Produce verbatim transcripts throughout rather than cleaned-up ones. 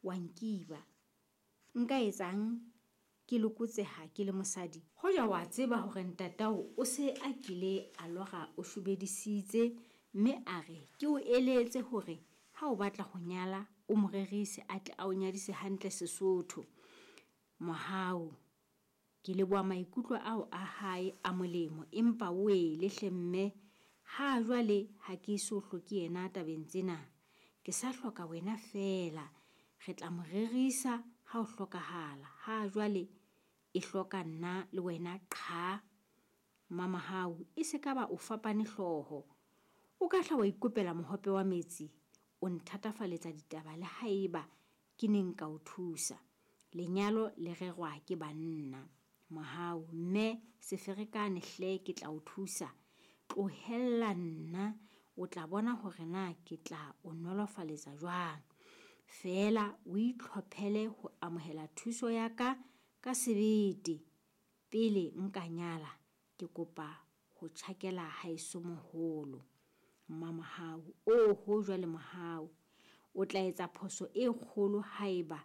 Wa nkiba. Nka etsang ke lokotseha ke le mosadi? Hoja wa tseba hore ntatao o se a kile a lora o shobedisitse, mme a re ke o eletse hore ha o batla ho nyala o mo rerise a tle a o nyadise hantle Sesotho. Mohau. Ke leboha maikutlo ao a hae a molemo, empa wele hle mme, ha jwale ha ke eso hloke yena tabeng tsena. Ke sa hloka wena feela. Re tla mo rerisa ha ho hlokahala. Ha jwale e hloka nna le wena qha. Mmamohau, e se ka ba o fapane hlooho. O ka hla wa ikopela mohope wa metsi. O nthatafaletsa ditaba le haeba ke ne nka o thusa. Lenyalo le rerwa ke banna. Mohau, mme se ferekane hle ke tla o thusa. Tlohella nna, o tla bona hore na ke tla o nolofaletsa jwang. Feela o itlhophele ho amohela thuso ya ka ka sebete. Pele nka nyala, ke kopa ho tjhakela haeso moholo. Mmamohau, oho jwale Mohau, o tla etsa phoso e kgolo haeba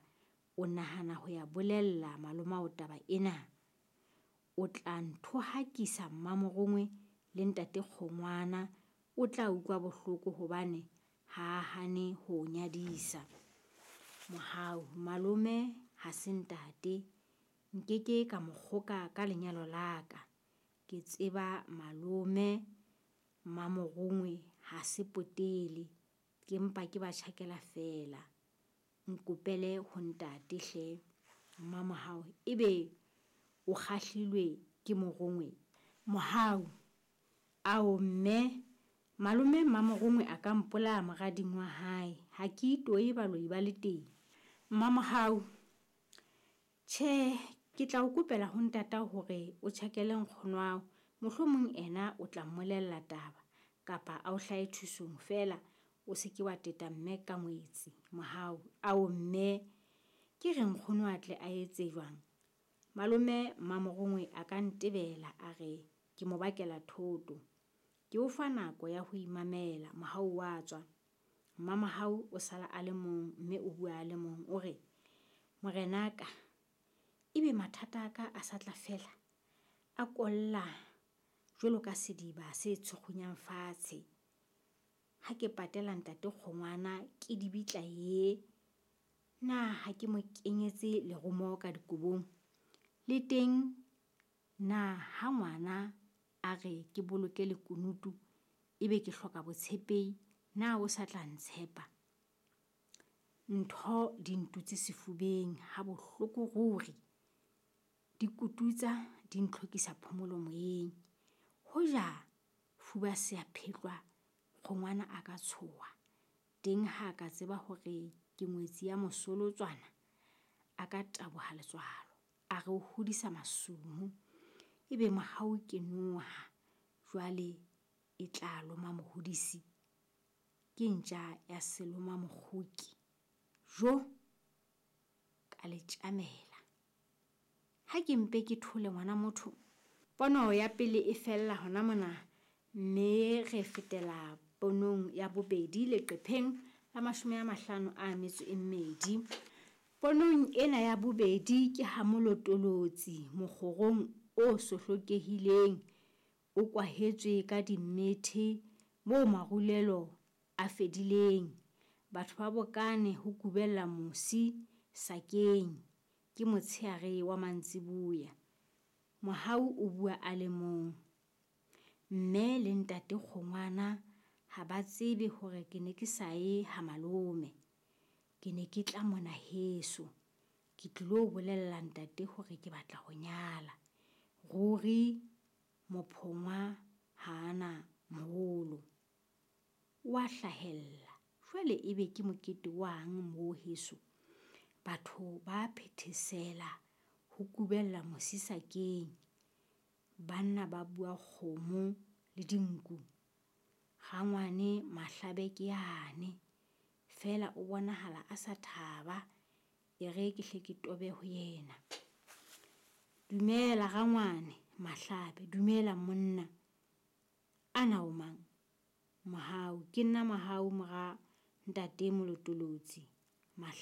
o nahana ho ya bolella malomao taba ena. O tla nthohakisa Mmamorongwe le ntate Kgongwana o tla utlwa bohloko hobane ha a hane ho o nyadisa. Mohau, malome ha se ntate. Nkeke ka mo kgoka ka lenyalo la ka. Ke tseba malome Mmamorongwe ha se potele. Ke mpa ke ba tjhakela feela. Nkopele ho ntate hle. Mmamohau, ebe o kgahlilwe ke Morongwe? Mohau, ao mme, malome Mmamorongwe a ka mpolaya morading wa hae. Ha ke itoye baloi ba le teng. Mmamohau, tjhe, ke tla o kopela ho ntatao hore o tjhakele nkgonwao. Mohlomong ena o tla mmolella taba kapa a o hlahe thusong feela o se ke wa teta mme ka ngwetsi. Mohau, ao mme, ke re nkgono a tle a etse jwang? Malome Mmamorongwe a ka ntebela a re ke mo bakela thoto. Ke o fa nako ya ho imamela. Mohau wa tswa. Mmamohau o sala a le mong mme o bua a le mong. O re, morenaka, ebe mathata a ka a sa tla fela? A kolla jwalo ka sediba se tshukgunyang fatshe. Ha ke patela ntate Kgongwana ke dibitla ye, na ha ke mo kenyetse lerumo ka dikobong? Le teng na ha ngwana a re ke boloke lekunutu ebe ke hloka botshepehi, na o sa tla ntshepa? Ntho di ntutse sefubeng ha bohloko ruri. Di kututsa di ntlhokisa phomolo moyeng. Hoja fuba se a phetlwa, Kgongwana a ka tshoha. Teng ha a ka tseba hore ke ngwetsi ya mosolotswana, a ka taboha letswalo. A re o hodisa masumu. Ebe Mohau ke noha, jwale e tla loma mohodisi. Ke ntja ya seloma mokgoki. Jo, ka le tjamela. Ha ke mpe ke thole ngwana motho. Pono ya pele e fella hona mona, mme re fetela ponong ya bobedi leqepheng la mashome a mahlano a metso e mmedi. Ponong ena ya bobedi ke ha molotolotsi mokgorong o sohlokehileng o kwahetswe ka dimmethe moo marulelo a fedileng. Batho ba bokane ho kubella mosi sakeng. Ke motsheare wa mantsiboya. Mohau o bua a le mong. Mme le ntate Kgongwana ha ba tsebe hore ke ne ke sa ye ha malome. Ke ne ke tla mona heso. Ke tlilo bolella ntate hore ke batla ho nyala. Ruri mophongwa ha a na moholo. Wa hlahella. Jwale ebe ke mokete wang moo heso? Batho ba phethesela ho kubella mosi sakeng. Banna ba bua kgomo le dinku. Rangwane Mahlabe ke yane. Feela o bonahala a sa thaba. E re ke hle ke tobe ho yena. Dumela rangwane Mahlabe, dumela monna. Ana o mang? Mohau, ke nna Mohau mora ntate Molotolotsi.